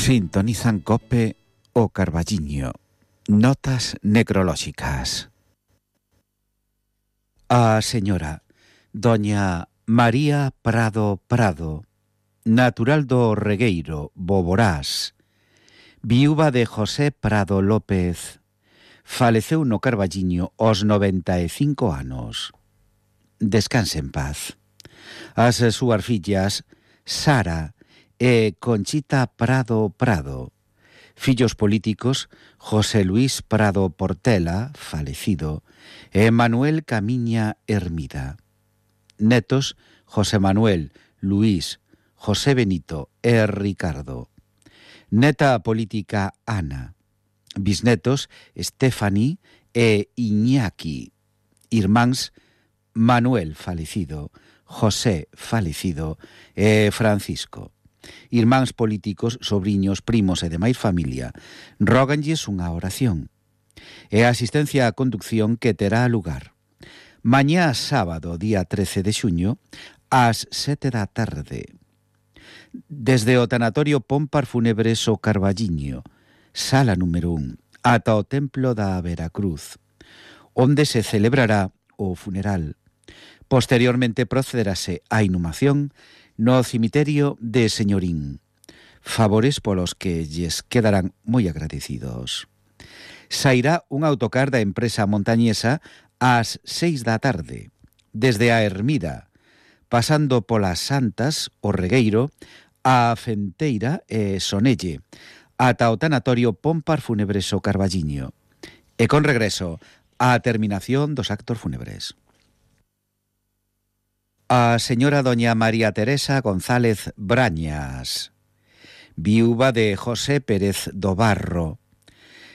Sintonizan COPE o Carballiño. Notas necrolóxicas. A señora doña María Prado Prado, natural do Regueiro, Boborás, viúva de José Prado López, faleceu no Carballiño aos 95 anos. Descanse en paz. As súas fillas, Sara e Conchita Prado Prado. Fillos políticos, José Luis Prado Portela, falecido, e Manuel Camiña Hermida. Netos, José Manuel, Luís, José Benito e Ricardo. Neta política, Ana. Bisnetos, Stephanie e Iñaki. Irmáns, Manuel, falecido, José, falecido, e Francisco. Irmáns políticos, sobriños, primos e demais familia, róganlles unha oración. E a asistencia á conducción que terá lugar mañá sábado, día 13 de xuño, ás 7 da tarde. Desde o tanatorio Pómpar Fúnebres o Carballiño, sala número 1, ata o Templo da Veracruz, onde se celebrará o funeral. Posteriormente procederase á inhumación no cemiterio de Señorín, favores polos que lles quedarán moi agradecidos. Sairá un autocar da empresa montañesa ás 6 da tarde, desde a Ermida, pasando polas Santas, o Regueiro, a Fenteira e Sonelle, ata o tanatorio Pómpar Fúnebres o Carballiño, e con regreso á terminación dos actos fúnebres. A señora doña María Teresa González Brañas, viúva de José Pérez do Barro,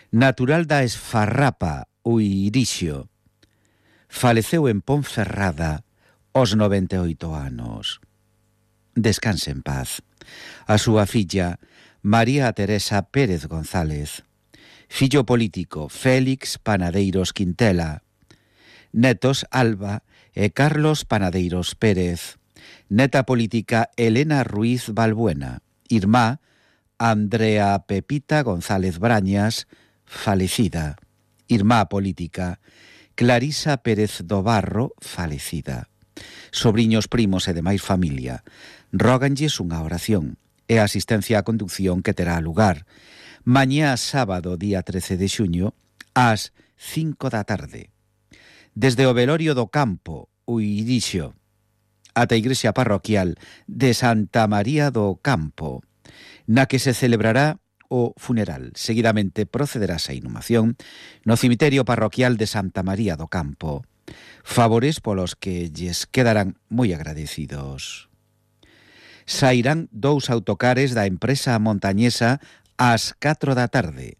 natural da Esfarrapa, Uirixio, faleceu en Ponferrada aos 98 anos. Descanse en paz. A súa filla, María Teresa Pérez González, fillo político, Félix Panadeiros Quintela, netos, Alba e Carlos Panadeiros Pérez, neta política, Elena Ruiz Balbuena, irmá, Andrea Pepita González Brañas, falecida, irmá política, Clarisa Pérez do Barro, falecida. Sobriños, primos e demais familia, róganlles unha oración e a asistencia á conducción que terá lugar mañá sábado, día 13 de xuño, ás 5 da tarde. Desde o velorio do campo, Uirixio, ata a igrexa parroquial de Santa María do Campo, na que se celebrará o funeral. Seguidamente procederase a inhumación no cemiterio parroquial de Santa María do Campo, favores polos que lles quedarán moi agradecidos. Sairán 2 autocares da empresa montañesa ás 4 da tarde.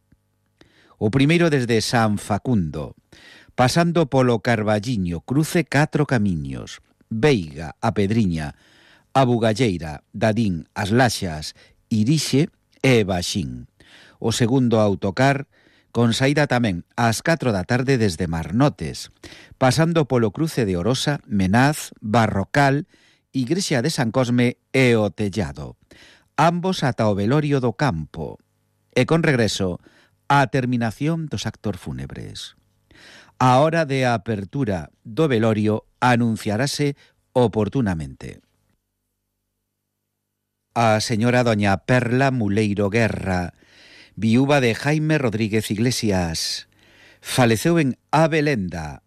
O primeiro desde San Facundo, pasando polo Carballiño, cruce 4 camiños, Veiga, a Pedriña, a Bugalleira, Dadín, as Laxas, Irixe e Baxín. O segundo autocar con saída tamén ás 4 da tarde desde Marnotes, pasando polo cruce de Orosa, Menaz, Barrocal, Igrexa de San Cosme e o Tellado, ambos ata o velorio do campo, e con regreso á terminación dos actos fúnebres. A hora de apertura do velorio anunciarase oportunamente. A señora doña Perla Muleiro Guerra, viúva de Jaime Rodríguez Iglesias, faleceu en Abelenda